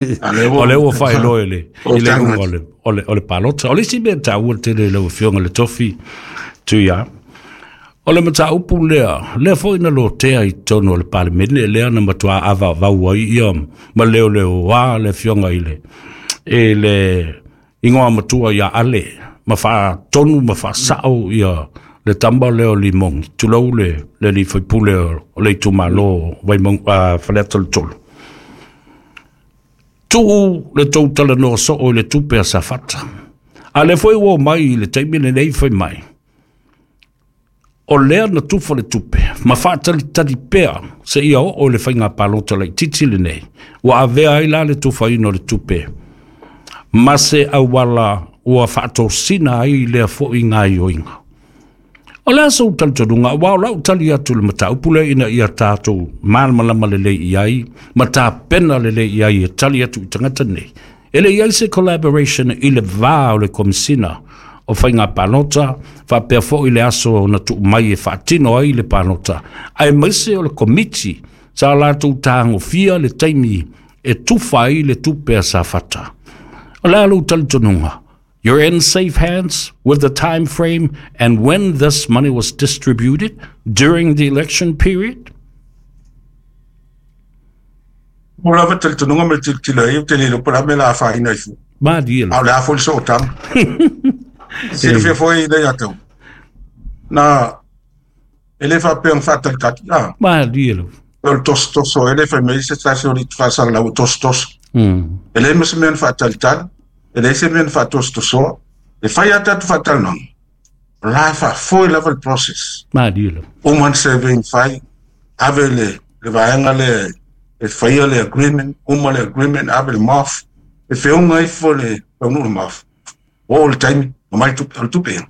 O lea ua faailoa i le i le iuga o le palota. O le isi mea taua tele i lau Afioga i le Tofi Tuia, o le mataupu lea foi na lotea i totonu o le Palemene lea na matua avaavau ai ia ma leoleoa le Afioga i le igoa matua ia Ale ma faatonu ma faasao ia le tama lea o Limogi, tulou le alii faipule o le itumalo Vaimauga, Faleata le 3. Tuu le tou talanoa soo i le tupe a Safata. A lea foi ua mai i le taimi lenei fai mai, o lea na tufa le tupe ma faatalitali pea seia oo i le faiga palota laitiiti lenei, ua avea ai la le tufaina o le tupe ma se auala ua faatosina ai lea foi gaioiga. O le a sou talitonuga, aua o lau tali atu i le mataupu lea ina ia tatou malamalama lelei i ai ma tapena lelei i ai e tali atu i tagata nei? E le i ai se collaboration i le va o le Komesina o Faiga Palota faapea foi le aso na tuu mai e faatino ai le palota, aemaise o le komiti sa latou tagofia le taimi e tufa ai le tupe a Safata? O le a lou talitonuga? You're in safe hands with the time frame and when this money was distributed during the election period? Mo lava talitonuga ma le tilotilo ai, ou te le iloa po o le a mea la afaina ai fua. Malie. A o le a foi le sootaga. Silafia foi le ia tau. Na, e le faapea na faatalitali. Ah, Malie lo. o le tosotoso, e le fai mai se tasi o le faasalalau o tosotoso. E leai ma se mea na faatalitali, e leai se mea na faatosotosoa. E fai a tatou faatalanoaga, o la e faafoe lava le process. Malie lo. Uma na survey na fai, ave le vaega lea e faia le agreement, uma le agreement, ave le MOF, e feoga ifo le taunuu le MOF. O le taimi, o mai tupe, o le tupe ia,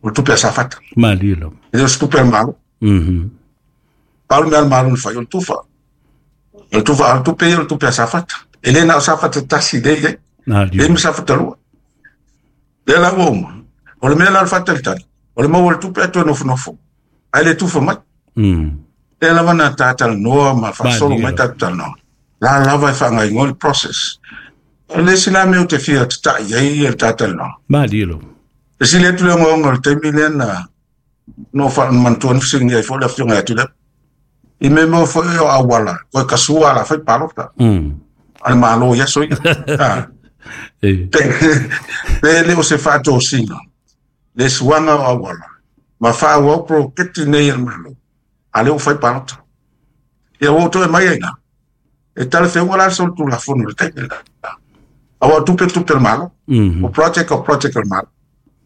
o le tupe a Safata. Malie lo. E le o se tupe a le Malo. Pau le mea a le Malo na fai, o le tufa. O le tufa, o le tupe ia, o le tupe a Safata. E le na o Safata tasi le i ai. Malie. Le ma Safata lua. Lea la ua uma. O le mea la o le faatalitali, o le maua o le tupe a toe nofonofo. Ae le tufa mai. Lea lava na tatalanoa ma faasolo mai tatou talanoa. La lava e faagaoioi le process. O le isi la mea ou te fia tatai ai le tatalanoa. Malie lo. E sili atu le ogaoga o le taimi lea na no faamanatua na fesiligia ai foi le afioga ia Tuilaepa. I mea mo foi o auala, koe kasua ala fai palota. A le Malo i aso ia. Ah. Pe le o se faatosina, le suaga o auala, ma faaauau poloketi nei a le Malo, a lea ua fai palota. Ia ua toe mai ai na. E talafeuga la le solitulafono i le taimi lena. Aua o tupe tupe a le Malo. O project o project a le Malo.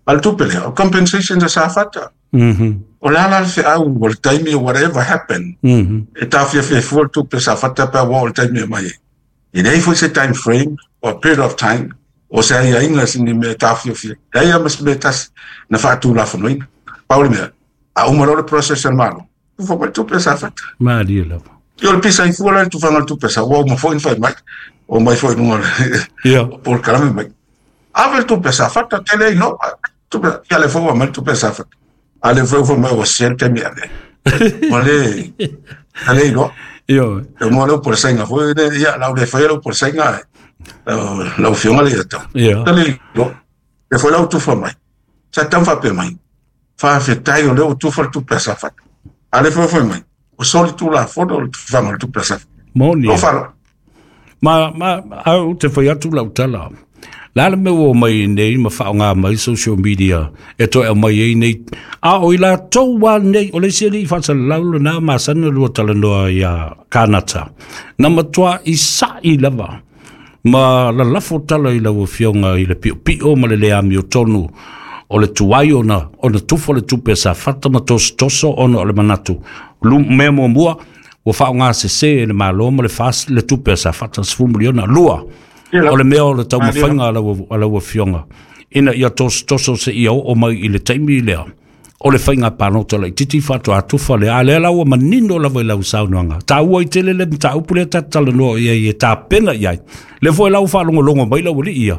A le tupe lea, o compensation a Safata. O le a la le feau o le taimi o whatever happen, e taofiafia fua le tupe a Safata pe ua o le taimi e mai ai. E leai foi se time frame or period of time o se aiaiga se ni mea e taofiofia. Leai lava ma se mea tasi na faatulafonoina. Pau le mea, a uma loa le process a le Malo, tufa mai le tupe a Safata. Malie lava. Ia o le pisa i fua la le tufaga o le tupe sa ua uma foi na fai mai. O mai foi i luga o le polokalame mai. Ave le tupe a Safata, tele ai no. Tupe, ia le foi ua mai le tupe a Safata. A le foi ua mai ua sel taimi ave. Ua le, a le iloa. E mo le upu sainga foi le ia lau le fai le upu sainga lau afioga le ia tau. Le iloa. E foi lau tufa mai. Sa tau faapea mai. Faafetai o lea ua tufa le tupe a Safata. A le foi foi mai. O solitulafono o le tufaga o le tupe a Safata. Moni. O falo. Ma au te fai atu lau tala. La le mea ua mai nei ma faaaoga mai social media e toe aumai ai nei. A o i latou a nei, o le isi alii faasalalau lena masani ona lua talanoa ia Kanata. Na matua i sa'i lava ma lalafo tala i lau afioga i le piopio ma le le amiotonu o le tuai ona tufa le tupe a Safata ma tosotoso ona o le manatu. Mea muamua, ua faaaoga sese e le Malo ma le FAS le tupe a Safata 10 miliona. Lua, o le mea o le taumafaiga a lau afioga ina ia tosotoso se ia oo mai i le taimi lea o le faiga palota laitiiti faatoa tufa lea. A lea la ua manino lava i lau saunoaga. Taua i tele le mataupu lea ta talanoa i ai e tapena i ai. Le foi lau faalogologo mai lau alii ia.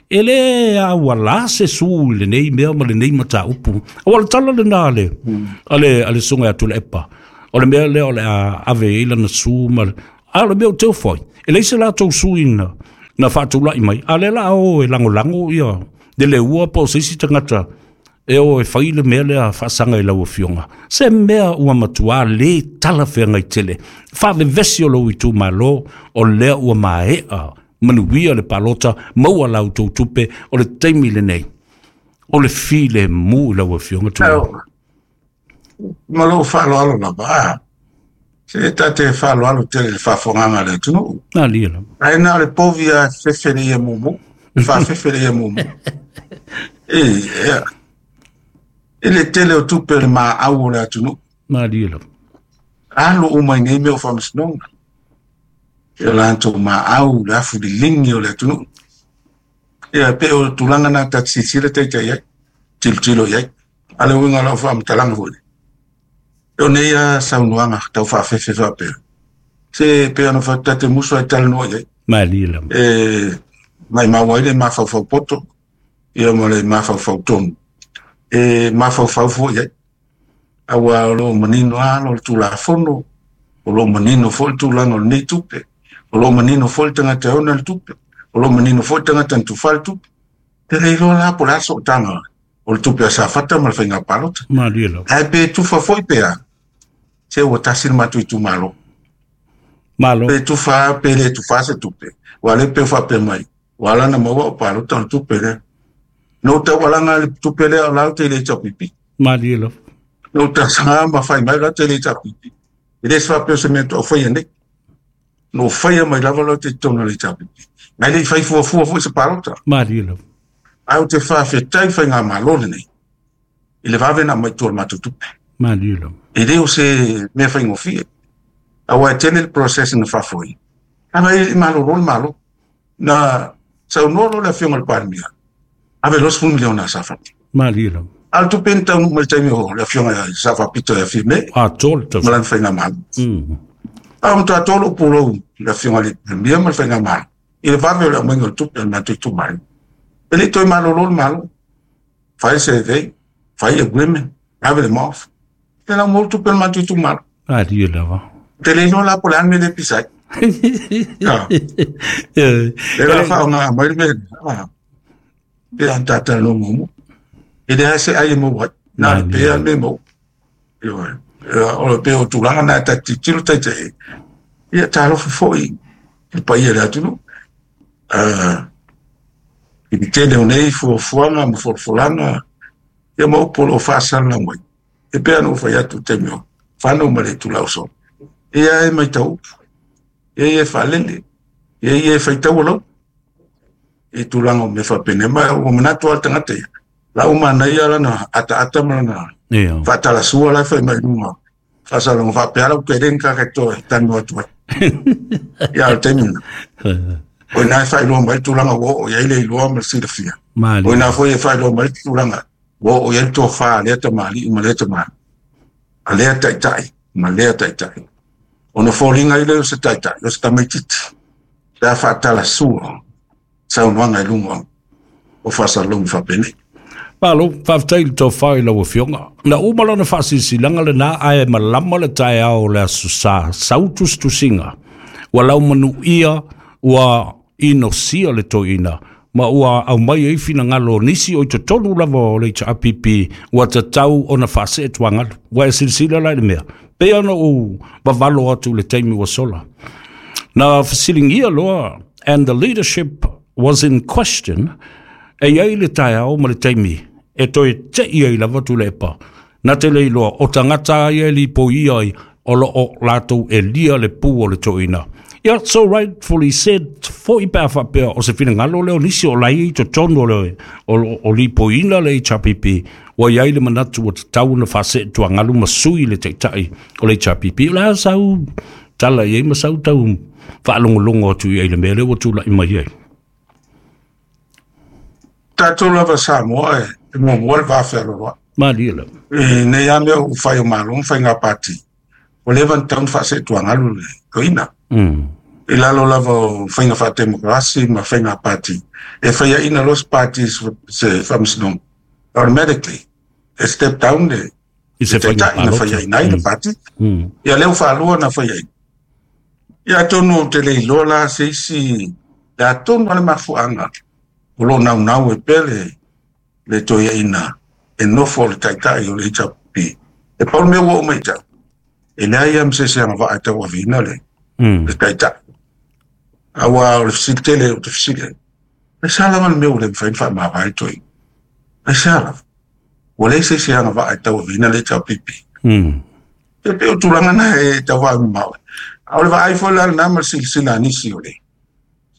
E le auala se su i lenei mea ma lenei mataupu. Aua o le tala lena a le susuga ia Tuilaepa. O le mea lea o le a ave ai lana su ma. A o le mea o teu foi. E leai se latou suiga. Na faatula'i mai a lea la a o e lagolago ia le leua po o se isi tagata e o e fai le mea lea faasaga i lau afioga, se mea ua matuā lē talafeagai tele faavevesi o lou itumalo. O lea ua mae'a manuia le palota, maua la outou tupe, o le taimi lenei o le filemu i lau afioga Tuilaepa. Ma lou faaaloalo lava, a se ta te faaaloalo tele i le faafofogaaga a le atunuu. Alia lava. Ae na o le povi lava e fefe le ia mumu, faafefe le ia mumu. E, i le tele o tupe o le maau o le atunuu. Malie lava. Alu uma i nei mea o faamasinoga. E o latou maau, le afu liligi o le atunuu. Ia, pe o tulaga na ta te silasila taitai ai, tilotilo i ai. A le uiga o lau faamatalaga foi, o nei a saunoaga tau faafefe faapea, se pe ona ta te musu ai talanoa i ai. Malie lava. E maimau ai le mafaufau poto, ia ma le mafaufau tonu. E mafaufau foi i ai. Aua o lo o manino lava o le Tulafono, o lo o manino foi le tulaga o lenei tupe, o lo o manino foi le tagata e ona le tupe, o lo o manino foi le tagata na tufa le tupe. Te le iloa la po o le a sootaga o le tupe a Safata ma le faiga palota. Malie lava. Ae pe tufa foi pe a, se ua tasi le matou itumalo. Malo. Pe tufa pe le tufa se tupe, ua le pe faapea mai, ua ala na maua o palota o le tupe lea. No taualaga le tupe lea o lau te le HRPP. Malie lava. No tausaga ma fai mai lau te le HRPP. E le se faapea o se mea toa faia nei. No faia mai lava lau te totonu o le HRPP. Nai le i fai fuafua foi se palota. Malie lava. Ae ou te faafetai faigamalo lenei i le vave na aumai i tua o le matou tupe. Malie lava. E le o se mea faigofie. Aua e tele le process na faafoe. Ae i malolo le Malo. Na saunoa loa le afioga i le Palemia, ave loa $10 miliona a Safata. Malie lava. A o le tupe na taunuu mai i le taimi o le afioga ia Safa Pito ia Fiame Atoa le ma tausaga. lana faigamalo. A o matua tolu ou pulou le afioga i le Palemia ma le faigamalo i le vave o le aumaiga o le tupe a le matou itumalo. E le i toe malolo le Malo. Fai survey, fai agreement, ave le MOF. E lau maua le tupe a le matou itumalo. Malie lava. Te le iloa la po o le a le mea lea e pisa ai. Ah, le la faaaoga mai le mea lea. Pe a tatalanoa muamua. E leai se ai e maua ai. Na le pea le mea e maua. Ioe. O le pea o tulaga na ta tilotilo taitai. Ia talofa foi i le paia o le atunuu. I le tele o nei fuafuaga ma folafolaga, ia ma upu o lo o faasalalau mai. E pei ona ou fai atu i le taimi o fanau ma le itula o sola. Ia e matau upu, ia ia e faalele, ia ia e faitau lau i tulaga o mea faapena. Ma ua manatu lava le tagata ia, la ua manaia lana ataata ma lana faatalasua la e fai mai i luga. Faasalaga faapea lau tele ni kaka toe talanoa atu ai. Ia o le taimi lena. O ina e faailoa mai le tulaga ua oo i ai le iloa ma le silafia. O ina foi e faailoa mai le tulaga ua oo i ai le tofa a lea tamalii ma lea tamalii. A lea taitai ma lea taitai. Ona foliga ai lea o se taitai, o se tamaitiiti. Pe a faatalasua saunoaga i luga o faasalalauga faapenei. Malo, faafetai i le tofa i lau afioga. Na uma lona faasilasilaga lenā ae malama le taeao o le aso Sa sau tusitusiga. Ua laumanuia ua inosia le toeaina ma ua aumai ai finagalo o nisi o i totonu lava o le HRPP ua tatau ona faasee tuagalu. Ua e silasila la i le mea, pei ona ou vavalo atu i le taimi ua sola. Na fesiligia loa, and the leadership was in question, e iai le taeao ma le taimi e toe te'i ai lava Tuilaepa. Na te le iloa o tagata a ia e lipoia ai o lo o latou elia le pu o le toeaina. Ia, so rightfully said foi pe a faapea o se finagalo lea o nisi o la e i totonu o le o lipoiina le HRPP, ua i ai le manatu ua tatau ona faasee tuagalu ma sui le taitai o le HRPP. O le a sau tala i ai ma sau tau faalogologo atu i ai i le mea lea ua tula'i mai ai? Tatou lava Samoa e muamua le va fealoaloai. Malie lava. I nei lava mea ua fai o Malo ma faiga pati, ua leva ona tatau ona faaseetuagalu le toeaina. I lalo lava o faiga faatemokarasi ma faiga pati, e faiaina loa se pati se faamasinoga, automatically e step down le I se faiga taitai na palota. faiaina ai le pati. Ia lea ua faalua na faiaina. Ia atonu ou te le iloa la se isi Le atonu ale mafuaga o lo naunau e pele le toeaina e nofo le taitai o le HRPP. E pau le mea ua ou matau, e leai lava ma se isi agavaa e tauaveina le taitai. Aua o le fesili tele ou te fesili ai, aisea lava le mea ua le mafai ona faamavae le toeaina? Aisea lava? Ua leai se isi agavaa e tauaveina le HRPP. E pei o tulaga na e tau vaamamao. A o le vaai foi la lena ma le silasila a nisi o le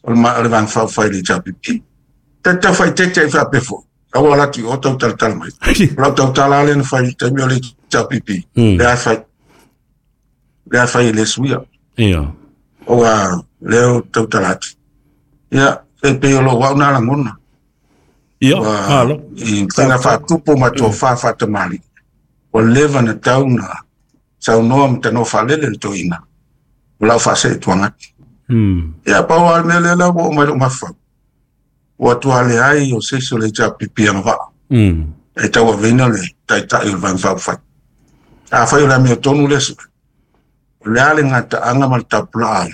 Vaega Faaupufai i le HRPP. Ta te tau faaeteete ai faapea foi, aua o atu i o tau talatala mai. O lau tautala lea na fai i le taimi o le HRPP, lea fai. Lea fai e le suia. Ia. Ua lea o tautala atu. Ia, e pei o lou au na lagona. Ia, malo. I faiga faatupu ma tofa faatamalii. Ua leva na tau na saunoa ma tanoa faalele le toeaina. O lau faasee atu. Ia, pau lava le mea lea la ua oo mai lou mafaufau. Ua tua leai o se isi o le HRPP agavaa. E tauaveina le taitai o le Vaega Faaupufai. Afai o le amiotonu lea sue, o le a le gataaga ma le tapulaa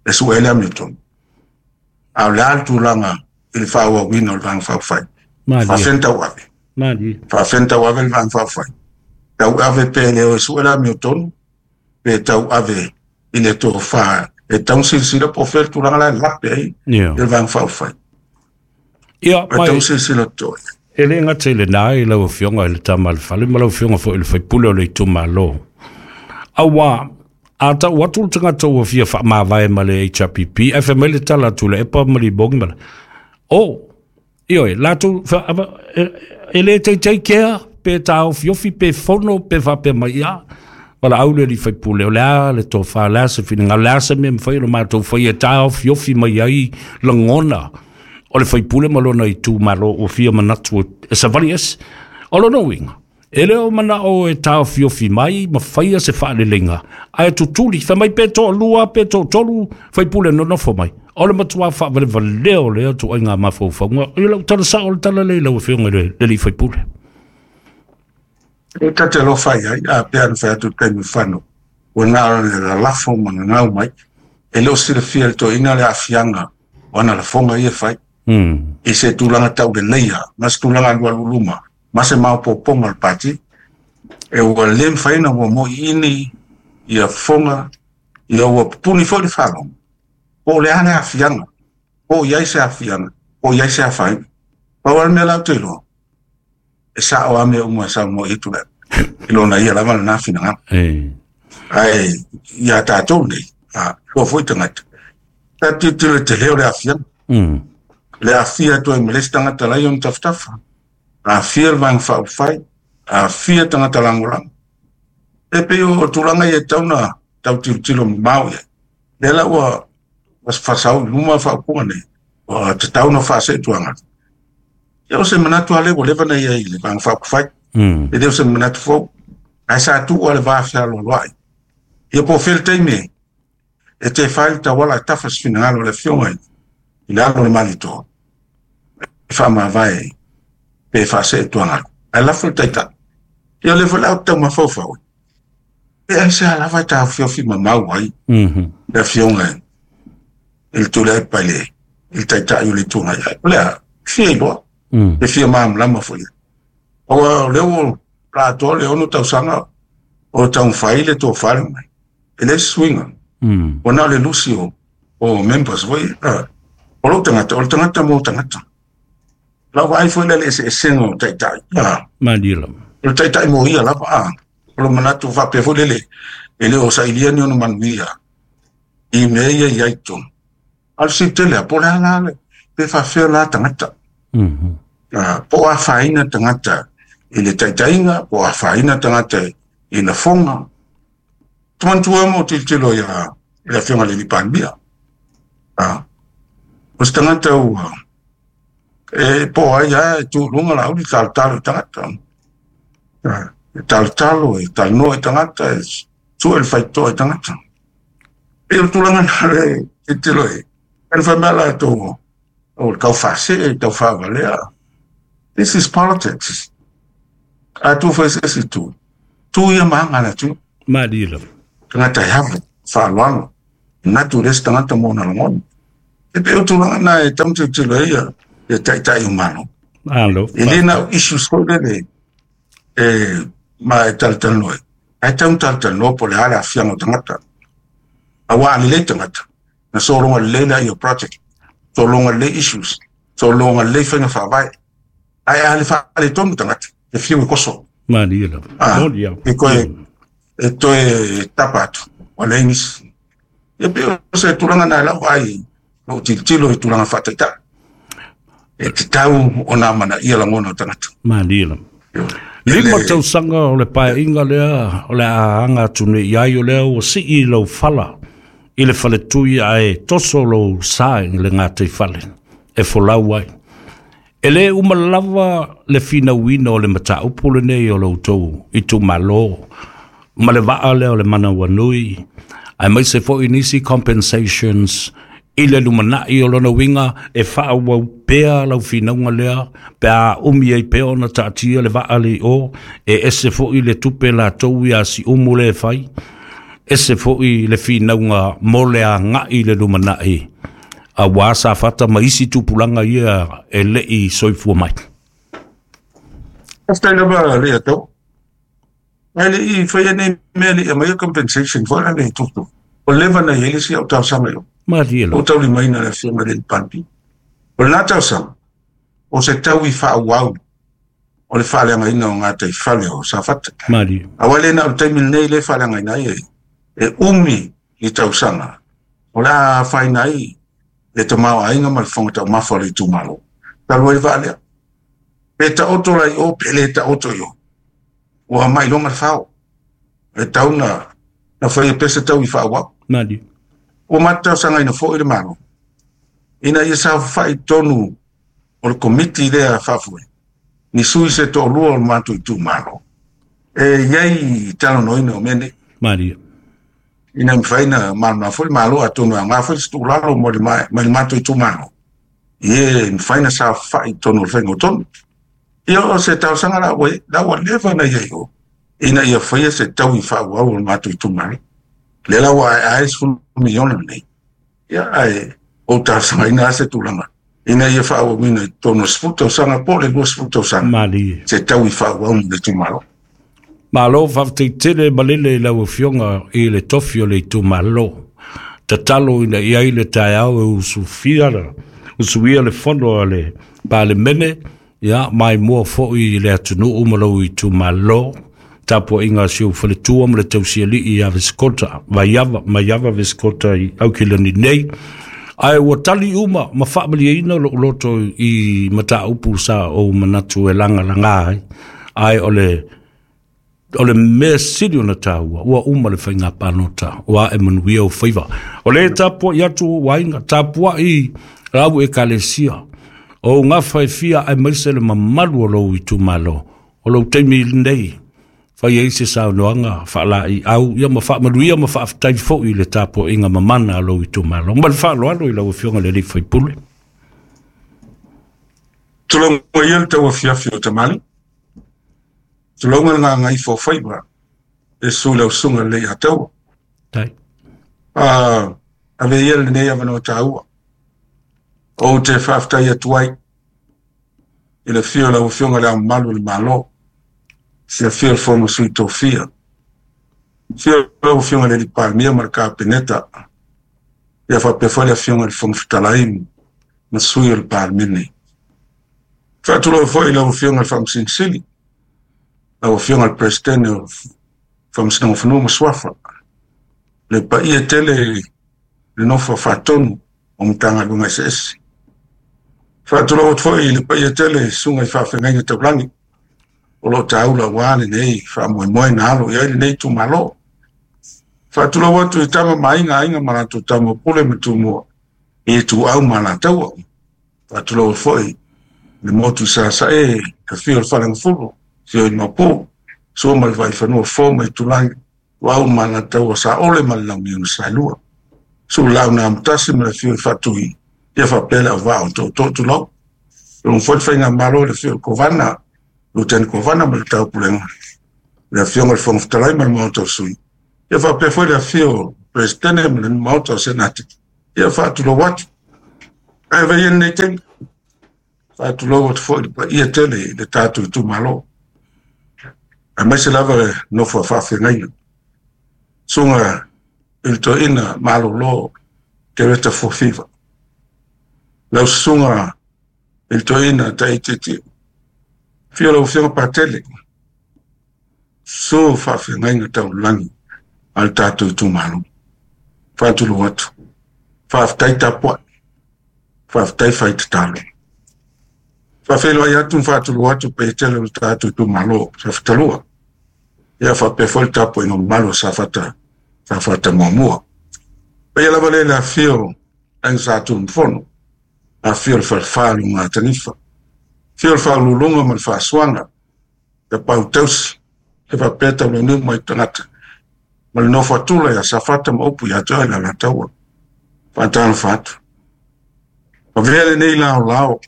e sue ai le amiotonu. A o le a le tulaga i le faaauauina o le Vaega Faaupufai. Faafean tauave. Faafean tauave le Vaega Faaupufai. Tauave pe le o e sue le amiotonu, pe tauave i le tofa e tau silasila po o fea le tulaga la e lape ai le Vaega Faaupufai. Ia, mai tau silasila toe. E le gata i lena i lau Afioga i le Tama a le Fale ma lau Afioga foi i le Faipule o le itumalo. Aua, a tau atu le tagata ua fia faamavae ma le HRPP, ae fai mai le tala a Tuilaepa ma Libongi ma le, o, ioe, latou, e le teitei kea, pe taofiofi, pe fono, pe faapea mai, ia, valaau le alii faipule, o le a le tofa, o le a se finagalo, o le a se mea mafai ona matou faia e taofiofi mai ai lagona o le faipule ma lona itumalo ua fia manatu e savali ese. O lona uiga, e le o manao e taofiofi mai ma faia se faaleleiga, ae tutuli, fai mai pe toalua, pe toatolu, faipule nonofo mai. O le matua faavalevalea o lea tuaiga mafaufauga. I lau tala sao o le tala lea i lau Afioga i le alii faipule. E ta te alofa i ai, a pea na fai atu le taimi fano, ua na o le lalafo ma gagau mai. E le o silafia le toeaina le aafiaga o ana lafoga ia e fai. I se tulaga tauleleia, ma se tulaga alualu luma, ma se maopoopoga o le pati. E ua le mafai ona ua moiini ia fofoga, ia ua pupuni foi le faalogo. Po o le a le aafiaga, po o i ai se aafiaga, po o i ai se afaina. Pau lava le mea la ou te iloa, e sao lava mea uma e saunoa i ai Tuilaepa. I lona ia lava lena finagalo. Ae ia tatou nei, a loa foi tagata, ta tilotilo i le tele o le aafiaga. Le aafia atu ai ma le isi tagata la e i ona tafatafa. Aafia le Vaega Faaupufai, aafia tagata lagolago. E pei o tulaga ia e tatau ona tau tilotilo mamao i ai. Lea la ua faasau i luma faaupuga nei, ua tatau ona faasee tuaga. Ia o se manatu lava lea ua leva ona i ai i le Vaega Faaupufai. E le o se manatu fou. Ae sa tuu lava le va fealoaloai. Ia po o fea le taimi e te fai le tauala e tafa se finagalo o le Afioga i le alo o le Malietoa e faamavae pe faasee tuagalu. Ae lafo le taitai. Ia o lea foi la ou te tau mafaufau. E aisea lava e taofiofi mamau ai le Afioga i le Tuilaepa i le taitai o le Itu Agai. O le a fia iloa, e fia malamalama foi. Aua o lea ua atoa le 6 tausaga o taumafai le tofa le mai. E leai se suiga. Ua na o le lusi o members foi. O lou tagata, o le tagata mo tagata. Lau vaai foi lea le eseesega o taitai. Malie lava. O le taitai mo ia lava. O lo manatu faapea foi lele, e le o sailia ni ona manuia i mea ia i ai tonu. A o le fesili tele lava, po o le a la le, pe faafefea la tagata. Po o afaina tagata i le taitaiga, po o afaina tagata i lafoga. Te manatua mo tilotilo ia le Afioga i le Palemia. O se tagata ua e po ai lava e tu i luga Laauli talotalo i tagata. E talotalo, e talanoa i tagata, e sue le faitotoa i tagata. E o le tulaga na le tilotilo i ai. E fai mai latou o le tau faasee, tau faavalea. This is politics. A tu foi se isi tu. Tu ia ma aga le atu. Malie lava. Tagata e ave, faaaloalo. Manatu le isi tagata mo ona lagona. E pei o tulaga na e tau tilotilo ai ia taitai o Malo. Malo. E le na o issues foi lele e ma e talatalanoa ai. Ae tau talatalanoa po o le a le aafiaga o tagata. Aua a lelei tagata, na sologa lelei laia o project, sologa lelei issues, sologa lelei faiga faavae. Ae a le faaletonu tagata, e fiu e koso. Malie lava. Moni lava. E toe, e toe tapa atu, ua leai nisi. Ia pei o se tulaga na e lau vaai, lou tilotilo i tulaga faataitai. E tatau ona amanaia lagona o tagata. Malie lava. 5 tausaga o le paeaiga lea o le a aga atu nei i ai, o lea ua sii lau fala i le faletui ae toso lou sa i le gataifale e folau ai. E le uma lava le finauina o le mataupu lenei o lo outou itumalo ma le vaa lea o le manawanui, aemaise foi nisi compensations i le lumanai. O lona uiga e faaauau pea lau finauga lea pe a umi ai pea ona taatia le vaa le i o, e ese foi le tupe latou ia siumu le e fai, ese foi le finauga mo le agai i le lumanai, aua Safata ma isi tupulaga ia e le i soifua mai. Faafetai lava le atau. Ae le i faia nei mea le i aumaia compensation foi la le tutu. O leva na i ai le isi au talosaga i o. Malie O lava. taulimaina le afioga i le Palemia. O lena talosaga, o se taui faaauau o le faaleagaina o gataifale o Safata. Malie. Aua le na o le taimi lenei le faaleagaina ai e umi i tausaga. O le a afaina ai le tamaoaiga ma le fofoga taumafa o le itumalo. Talu ai le vaa lea. Pe taoto la i o, pe le taoto i o. Ua mailoga le fao. E tau na faia pea se tau i faaauau. Malie. Ua matou talosagaina foi le Malo ina ia saofafai i totonu o le komiti lea faafoe ni sui se toalua o le matou itumalo e i ai talanoaina o mea nei. Malie. Ina mafai na malamalama foi le Malo, atonu e aoga foi se tuualalo mo le mai le matou itumalo e mafai na saofafai i totonu o le faiga o tonu. Ia o se talosaga la ua la ua leva na i ai o ina ia faia se taui faaauau o le matou itumalo. Lea la ua ae 10 miliona nei. Ia ae ou talosagaina se tulaga ina ia faaauauina i totonu o le 10 tausaga po o le 20 tausaga. Malie. Se taui faaauau mo le itumalo. Malo, faafetai tele malele i lau afioga i le tofi o le itumalo. Tatalo ina i ai le taeao e usufia usuia le fono a le Palemene, ia maimoa foi i le atunuu ma lou itumalo. Tapuaiga a si ou faletua ma le tausialii ia Vesikota, Vaiava, Maiava Vesikota i Aukilani nei. Ae ua tali uma ma faamalieina lou loto i mataupu sa ou manatu e lagalaga ai. Ae o le mea sili ona taua, ua uma le faiga palota, ua ae manuia o faiva. O le tapuai atu o aiga, tapuai lau ekalesia, o gafa e fia aemaise le mamalu o lou itumalo, o lou taimi lenei, fai ai se saunoaga faala'i au, ia ma faamanuia ma faafetai foi i le tapuaiga mamana a lou itumalo. Ma le faaaloalo i lau afioga i le sui usufono. Tulauga ia le tauafiafi o Tamali. Tulauga le gagaifo o faiva e su lau susuga lelei ataua. Tai. Ave ia lenei avanoa taua. Ou te faafetai atu ai i le afio o lau afioga i Le Ao Mamalu o le Malo, le afio o le Fono Sui Tofia, afio lau afioga i le Palemia ma le Kapeneta, ia faapea foi le afioga i le Fofoga Fetalai ma sui o le Palemene. Faatulou foi i lau afioga i le Faamasino Sili, lau afioga i le Peresetene o Faamasinoga o Fanua ma Suafa, le paia tele le nofo faatonu o Matagaluega eseese. Faatulou atu foi i le paia tele susuga i faafeagaiga taulagi o lo o taula aua lenei faamoemoe na alo i ai lenei itumalo. Faatulou atu i tama ma aiga, aiga ma latou tama Pule ma Tumua i Ituau ma Alataua. Faatulou foi le motu Sasae, afio o le Faleagafulu, afio i Maopu, Sua ma le Vaifanua, Fofo ma Itulagi, Ituau ma Alataua, Saole ma le Launiu na Saelua. Sulau na amotasi ma le afio i Faatui, ia faapea le auvaa o tootoo tulou. Tulou foi le faigamalo i le afio o le Kovana, Luteni Kovana ma le Taupulega, le afioga i le Fofoga Fetalai ma le Maota o Sui. Ia faapea foi le afio o le Peresetene ma le Maota o Senate. Ia faatulou atu. Ae vai lenei taimi, faatulou atu foi i le paia tele i le tatou itumalo, aemaise lava le nofo a faafeagaiga, susuga i le toeaina malolo Kereta Fuafiva, lau susuga i le toeaina Taititi, afio lau Afioga Patele, susu faafeagaiga taulagi a le tatou itumalo. Faatulou atu, faafetai tapuai, faafetai fai tatalo. Faafeiloai atu ma faatulou atu paia tele o le tatou itumalo Safata 2. Ia faapea foi le tapuaiga mamalu o Safata, Safata 1. Paia lava lea i le afifio Aiga Sa Tunumafono, afifio le Falefa o Lugatanifa, afio le Faauluuluga ma le Faasuaga, Tapaau Tausi, e faapea Taulauniu mai tagata, ma le nofo a Tula ia Safata ma upu ia te oe le Alataua. Faatalofa atu. Avea lenei laolao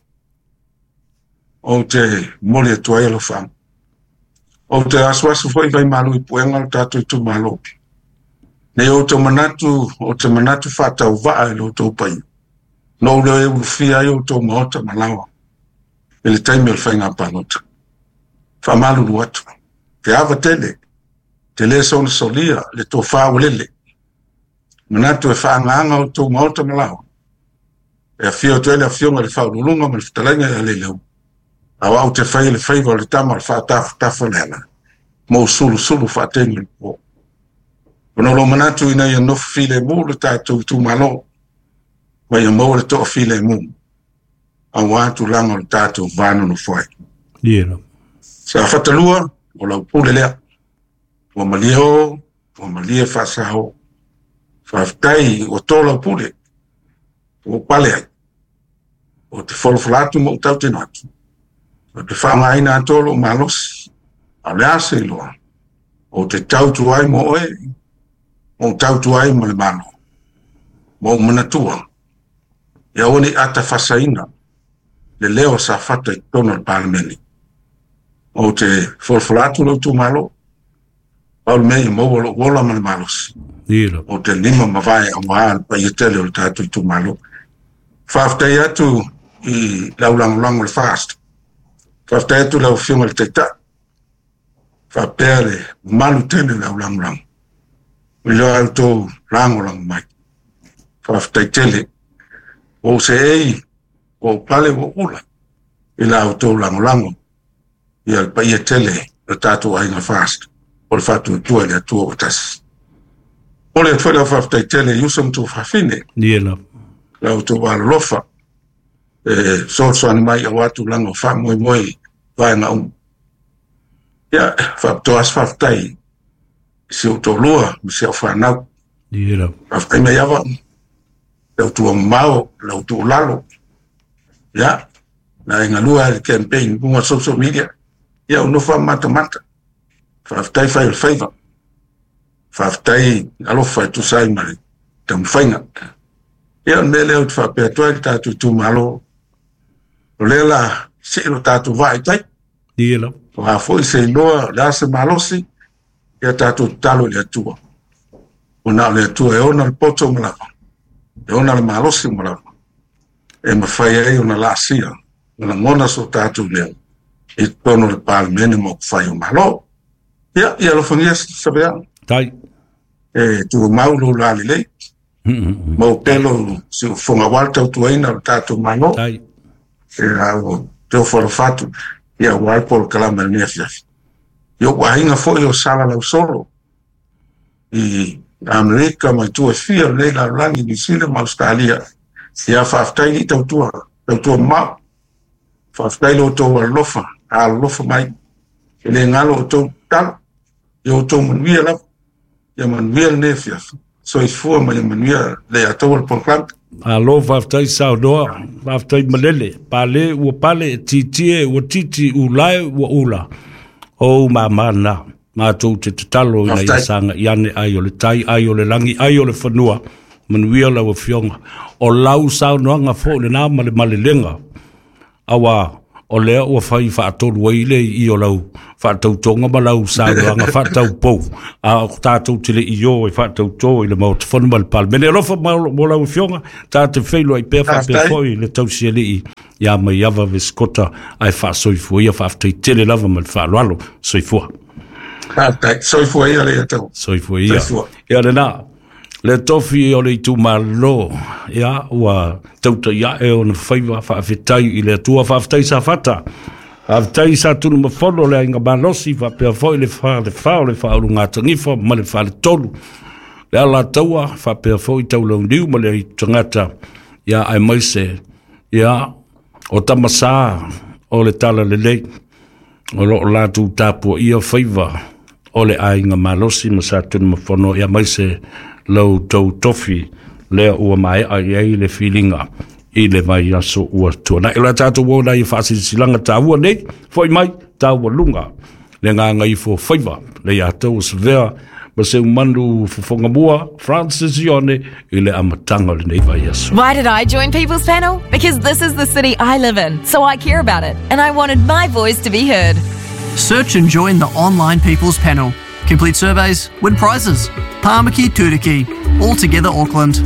ou te momoli atu ai alofaaga. Ou te asuasu foi vai malu i puega o le tatou itumalo. Nei outou manatu, ou te manatu faatauvaa i lo outou paia. Na ou le ulufia ai outou maota ma laoa i le taimi o le faiga palota. Faamalulu atu, te ava tele, te le soona solia le tofa ua lele. Manatu e faaagaaga outou maota ma laoa. E afio atu ai le afioga i le Faauluuluga ma le fetalaiga ia Leileu. A o au te faia le faiva o le tama o le faatafatafa le ala, ma ou sulusulu faategi o le po. Ona o lou manatu ina ia nofo filemu le tatou itumalo, ma ia maua le toafilemu, aua tulaga o le tatou va nonofo ai. Ia. Safata 2, o lau pule lea. Ua malie o, ua malie faasao. Faafetai ua tō lau pule, ua pale ai. O te folafola atu ma ou tautino atu. O te faaaogaina atoa lou malosi. A o le a se iloa, ou te tautua ai mo oe, ma ou tautua ai ma le Malo. Ma ou manatua, ia aua ne i atafasaina le leo o Safata i totonu o le Palemene. Ou te folafola atu lou itumalo, pau le mea ia maua lou ola ma le malosi. Ia. Ou te lima mavae aua le paia tele o le tatou itumalo. Faafetai atu i lau lagolago i le FAST. Faafetai atu i lau Afioga i le Taitai. Faapea le mamalu tele o le au lagolago. I lo outou lagolago mai. Faafetai tele. Ua ou seei, ua ou pale, ua ou ula i la outou lagolago. Ia le paia tele o le tatou aiga FAST o le faatuatua i le Atua ua tasi. Momoli atu foi lau faafetai tele i uso ma tuafafine. Ia lava. La outou alolofa e fesoasoani mai aua tulaga o faamoemoe i vaega uma. Ia, faapitoa se faafetai i si ou toalua ma si au fanau. Ia lava. Faafetai mai ava, lau tuamamao, lau tuulalo. Ia, na e galua ai le campaign i luga o social media. Ia, ou nofo lava matamata. Faafetai fai o le faiva. Faafetai alofa e tusa ai ma le taumafaiga. Ia, o le mea lea ou te faapea atu ai le tatou itumalo, o lea la see lo tatou vaa i tai. Ia lava. O a foi se iloa, o le a se malosi, ia tatou tatalo i le Atua. Ona o le Atua e ona le poto ma lava, e ona le malosi ma lava, e mafai ai ona laasia ma lagona so tatou leo i totonu o le Palemene ma upufai o Malo. Ia, ia alofagia Savea. Tai. E tumau lou lalelei. Mau pea lou siufofoga aua le tautuaina o le tatou Malo. Tai. E au te ofo alofa atu, ia aua le polokalame o lenei afiafi. I ou aiga foi o Sala Lausolo i Amerika ma itu e fia o lenei lalolagi, Niu Sila ma Ausetalia. Ia faafetai i tautua, tautua mamao. Faafetai lo outou alolofa, alolofa mai. E le galo outou tatalo, ia outou manuia lava. Ia manuia lenei afiafi. Soifua ma ia manuia le ataua le polokalame. Malo faafetai saunoa, faafetai malele, pale ua pale, tietie ua titi, ulae ua ula. O ou mama na, matou te tatalo ina ia saga i ane ai o le tai, ai o le lagi, ai o le fanua, manuia lau afioga. O lau saunoaga foi lena ma le malelega, aua o lea ua fai faatolu ai le i o lau faatautoga ma lau saunoaga faataupou, a o tatou te le i o e faatautō i le Maota Fono ma le Palemene. Alofa mo lau afioga, ta te feiloai pea faapea foi le tausialii ia Maiava Vesikota, ae faasoifua ia, faafetai tele lava ma le faaaloalo. Soifua. Faafetai, soifua ia le tau. Soifua ia. Ia lena, le tofi o le itumalo, ia, ua tautai ae ona faiva, faafetai i le Atua, faafetai Safata, faafetai sa Tunumafono le aiga malosi, faapea foi le falefa o le faaulugatanifa ma le faletolu, le Alataua, faapea foi Taulauniu ma le tagata, ia, aemaise, ia, o Tamasa o le Tala Lelei, o loo latou tapuaia faiva o le aiga malosi ma sa Tunumafono, ia maise lau tou tofi lea ua maea i ai le filiga i le vai aso ua tuanai. O le tatou o lai faasilasila taua nei, foi mai taua lunga le gagaifo faiva le ia tou sevea ma se umanu fofoga mua Francis Ione i le amataga o lenei vai aso. Why did I join People's Panel? Because this is the city I live in, so I care about it, and I wanted my voice to be heard. Search and join the online People's Panel. Complete surveys, win prizes. Pāmaki Turuki. All together Auckland.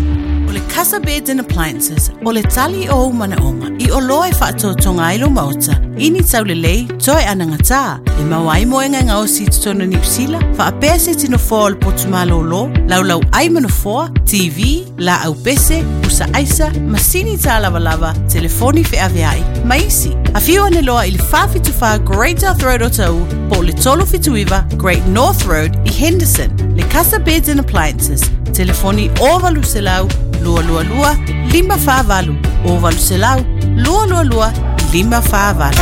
O le Casa Beds and Appliances, o le tali o manaonga, i o loa e whaatotonga ai lo maota, ini taulelei, toe anangata, e mauai moenga ngā osi totonu Niu Sila, whaapea se tino foa o le potu malolo, laulau ai manofoa, TV, la au pese, usa aisa, masini tā lava lava, telefoni wheaweai, maisi. A whiu ane loa i le 474 Great South Road o Tau, po le 379 Great North Road i Henderson. Le Casa Beds and Appliances, telefoni o valuselau, 222 548, o valuselau, 222 548.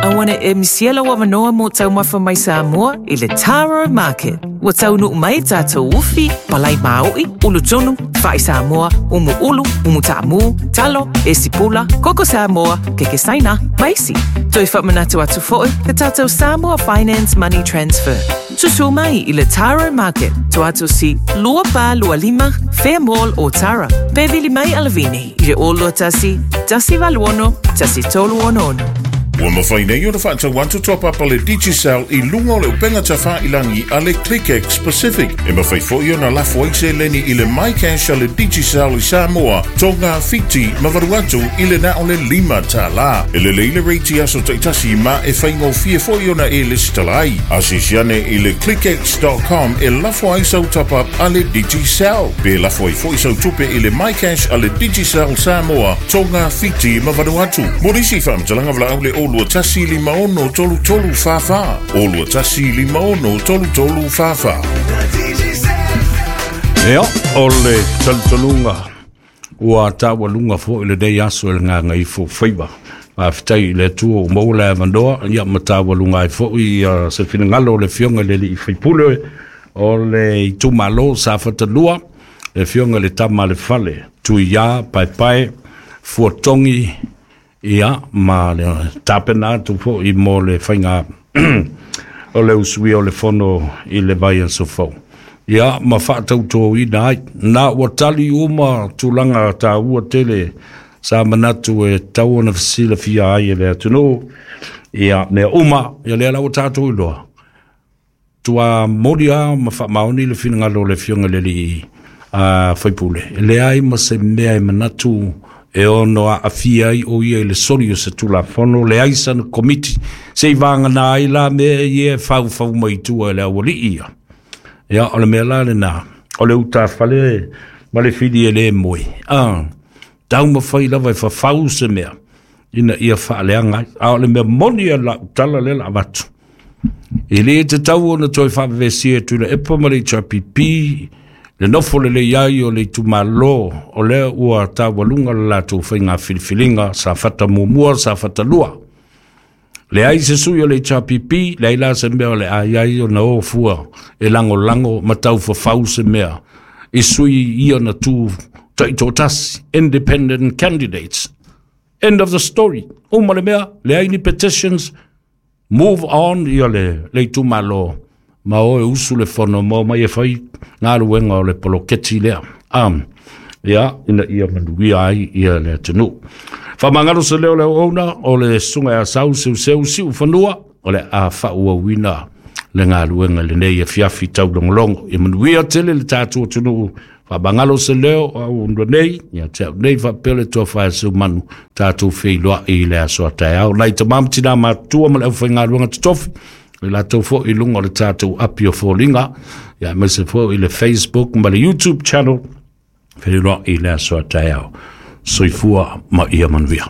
Awana e misiela wa manoa mo taumafa mai Samoa i le Taro Market. Ua taunu mai tātou ufi, palai maoi, ulu tonu, whai Samoa, umu ulu, umu ta'amu, talo, esipula, koko Samoa, keke saina, maisi. Toi whamanatu atu fo'i, te tātou Samoa Finance Money Transfer. Susu mai i le Taro Market, to atu si lua pa lua lima, Fair Mall o Tara. Pe vili mai alavini, i le o lua tasi, tasi valuono, tasi tolu ono ono. Ua mawhai nei o le whaatau atu toa papa le Digicel i lunga o le upenga tawha ilangi a le ClickX Pacific. E mawhai fo i ona lafo ai se leni i le MyCash a le Digicel i Samoa, Tonga, Fiti, Mavaruatu i le na o le lima tā la. E le leile reiti aso taitasi ma e whaingo fie fo i ona e lisitalai. A sisiane i le clickx.com e lafo ai sau top up a le Digicel. Pe lafo ai fo i sau tupe i le MyCash a le Digicel Samoa, Tonga, Fiti, Mavanuatu. Morisi whaamtalanga vla au le o lua tasi lima ono tolu tolu whawha. O lua tasi lima ono tolu tolu whawha. Ea, o le talitonuga ua taualuga foʻi lenei aso e le gagaifo faiva. Faafetai i le Atua ua maua le avanoa, ia ma taualuga ai foʻi ia se finagalo o le afioga i le alii faipule o le itumālō Safatalua, le afioga i le tama a le fale Tuiā Paepae Fuatogi, ia ma le tapena atu foʻi mo le faiga o le usuia o le fono i le vai aso fou. Ia ma faatautōina ai na ua tali uma tulaga taua tele sa manatu e tau ona fesilafia ai e le atunuu ia mea uma, ia lea la ua tatou iloa tua moli a ma faamaoni le finagalo o le afioga i le alii faipule. E leai ma se mea e manatu e ono aafia ai o ia i le soli o se tulafono, leai sana komiti se i vagana ai la mea ia e faufau mai tua e le aualii ia. Ia o le mea la lenā, o le utafale ma le fili e lē moe, a taumafai lava e fafau se mea ina ia faaleaga ai. A o le mea moni a lau tala lea la avatu, e lē tatau ona toe faavevesia e Tuilaepa ma le HRPP le nofo lelei ai o le itumālō o lea ua taualuga le latou faiga filifiliga Safata muamua, Safata lua. Leai se sui o le HRPP, leai la se mea o le ai ai ona o fua e lagolago ma taufafau se mea i sui ia na tu taitoatasi, independent candidates. End of the story. Uma le mea, leai ni petitions, move on ia le itumālō ma o e usu le fono mo mai e fai galuega o le poloketi lea. Ia, ina ia manuia ai ia le atunuu. Faamagalo se leo o le auauna, o le susuga ia Sau Seuseu Siufanua, o le a faaauauina le galuega i lenei afiafi taulogologo. Ia manuia tele le tatou atunuu. Faamagalo se leo o auauna nei, ia te au nei faapea le tofa e Seumanu, tatou feiloai i le aso a taeao. Nai tama ma tina matutua ma le aufaigaluega totofi, i latou foi i luga o le tatou api o foliga, ia aemaise foi i le Facebook ma le YouTube channel, feiloai i le aso a taeao. Soifua ma ia manuia.